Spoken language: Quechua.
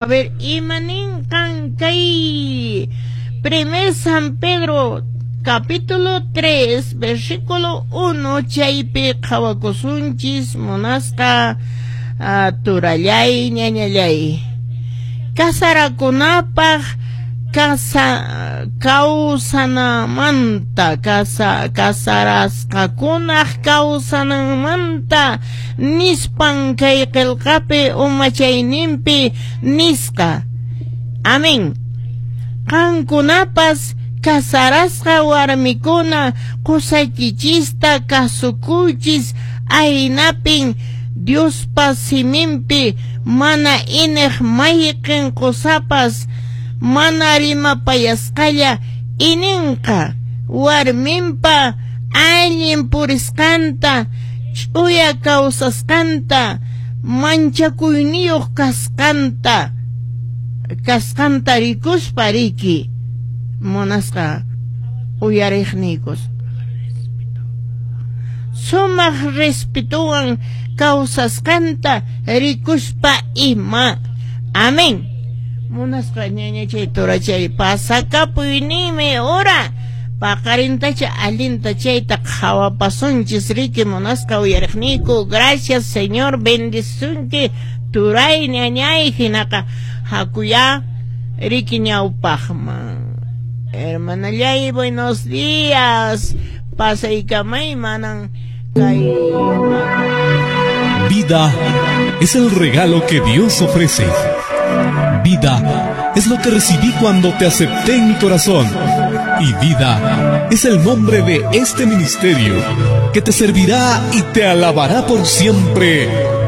A ver, imaninqan kay primer San Pedro capítulo 3 versículo 1 chaypi qhawakusunchis munasqa turallay ñañallay. Casarakunapaq kawsanamanta casarasqakunaq kawsananmanta nispan kay qillqapi umachayninpi nisqa. Amén. Qankunapas casarasqa warmikuna qusaykichista kasukuychis aynapin Diospa siminpi mana iñiq mayqin qusapas mana rimapayasqalla ininqa warminpa allin purisqanta ch'uya kawsasqanta manchakuyniyuq kasqanta rikuspa riki munasqa uyariqniykus sumaq respetuwan kawsasqanta rikuspa ima. Amén. Munasqa ñañachay turachay pasakapuyniymi hora paqarintacha allinta chayta qhawapasunchis riki munasqa uyariqniyku. Gracias Señor, bendisunki turay ñañay hinaqa hakuya riki ñawpaqman. Hermanallay, buenos días. Pasaykamay manan kay. Vida es el regalo que Dios ofrece. Vida es lo que recibí cuando te acepté en mi corazón. Y vida es el nombre de este ministerio que te servirá y te alabará por siempre.